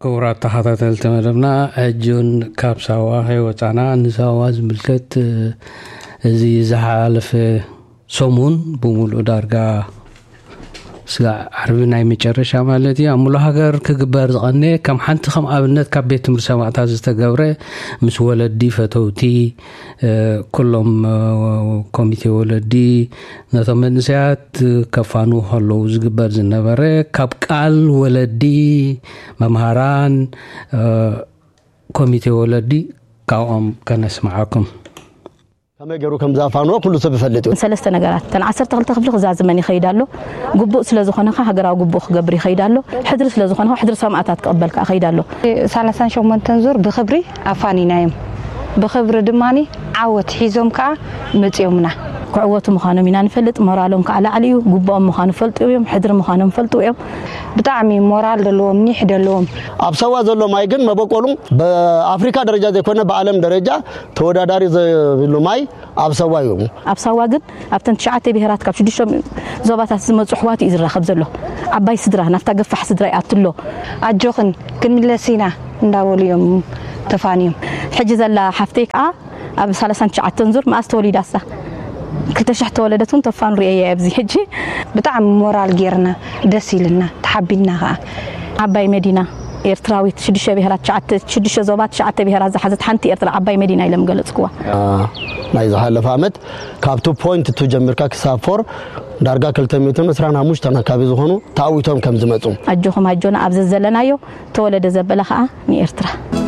ክቡራት ተኸታተልቲ መደብና፣ ሕጂ እውን ካብ ሳዋ ከይወፃና፣ ንሳዋ ዝምልከት፣ እ፣ እዚ ዝሓለፈ ሰሙን ብምሉእ ዳርጋ ስጋዕ ዓርቢ ናይ መጨረሻ ማለት እዩ፣ ኣብ ሙሉእ ሃገር ክግበር ዝቐነ፣ ከም ሓንቲ፣ ከም ኣብነት፣ ካብ ቤት ትምህርቲ ሰማእታት ዝተገብረ፣ ምስ ወለዲ፣ ፈተውቲ፣ እ፣ ኩሎም፣ እ፣ ኮሚቴ ወለዲ ነቶም መንእሰያት ከፋንዉ ከለዉ ዝግበር ዝነበረ፣ ካብ ቃል ወለዲ፣ መምሃራን፣ እ፣ ኮሚቴ ወለዲ፣ ካብኦም ከነስምዓኩም። ከመይ ገይሩ ከም ዝኣፋንዎ ኩሉ ሰብ ይፈልጥ እዩ። ሰለስተ ነገራት፣ እተን ዓሰርተ ክልተ ክፍሊ ክዛዝመን ይኸይድ ኣሎ። ግቡእ ስለ ዝኾነ ከኣ ሃገራዊ ግቡእ ክገብር ይኸይድ ኣሎ። ሕድሪ ስለ ዝኾነ ከኣ ሕድሪ ሰማእታት ክቕበል ከኣ ይኸይድ ኣሎ። ሰላሳን ሸሞንተን ዙር ብኽብሪ ኣፋኒናዮም። ብኽብሪ ድማኒ ዓወት ሒዞም ከኣ መጺኦምና። ክዕወቱ ምዃኖም ኢና ንፈልጥ። ሞራሎም ከኣ ላዕሊ እዩ። ግቡኦም ምዃኑ ፈልጡ እዮም። ሕድሪ ምዃኖም ፈልጡ እዮም። ብጣዕሚ ሞራል ዘለዎም፣ ኒሕ ዘለዎም። ኣብ ሰዋ ዘሎ ማይ ግን መበቆሉ ብኣፍሪካ ደረጃ ዘይኮነ ብዓለም ደረጃ ተወዳዳሪ ዘይብሉ ማይ ኣብ ሰዋ እዩ። ኣብ ሳዋ ግን ኣብተን ትሽዓተ ብሄራት ካብ ሽዱሽተ ዞባታት ዝመጹ ኣሕዋት እዩ ዝራኸብ ዘሎ። ዓባይ ስድራ፣ ናብታ ገፋሕ ስድራ ይኣቱ ኣሎ። ኣጆኽን ክንምለስ ኢና እንዳበሉ እዮም ተፋንዮም። ሕጂ ዘላ ሓፍተይ ከኣ ኣብ ሰላሳን ትሽዓተን ዙር መኣስ ተወሊዳ እሳ? ክልተ ሽሕ ተወለደት እውን ተፋኑ ርእየያ ኣብዚ ሕጂ። ብጣዕሚ ሞራል ጌርና፣ ደስ ኢልና፣ ተሓቢንና ከኣ። ዓባይ መዲና ኤርትራዊት፣ ሽዱሽተ ብሄራት፣ ትሽዓተ፣ ሽዱሽተ ዞባ፣ ትሽዓተ ብሄራት ዝሓዘት ሓንቲ ኤርትራ ዓባይ መዲና ኢሎም ገለጽክዋ። አ፣ ናይ ዝሓለፈ ዓመት ካብ ቱ ፖይንት ቱ ጀሚርካ ክሳብ ፎር ዳርጋ ክልተ ሚእትን ዕስራን ሓሙሽተን ኣካባቢ ዝኾኑ ተኣዊቶም ከም ዝመጹ። ኣጆኹም ኣጆና ኣብ ዘዘለናዮ ተወለደ ዘበለ ከኣ ንኤርትራ።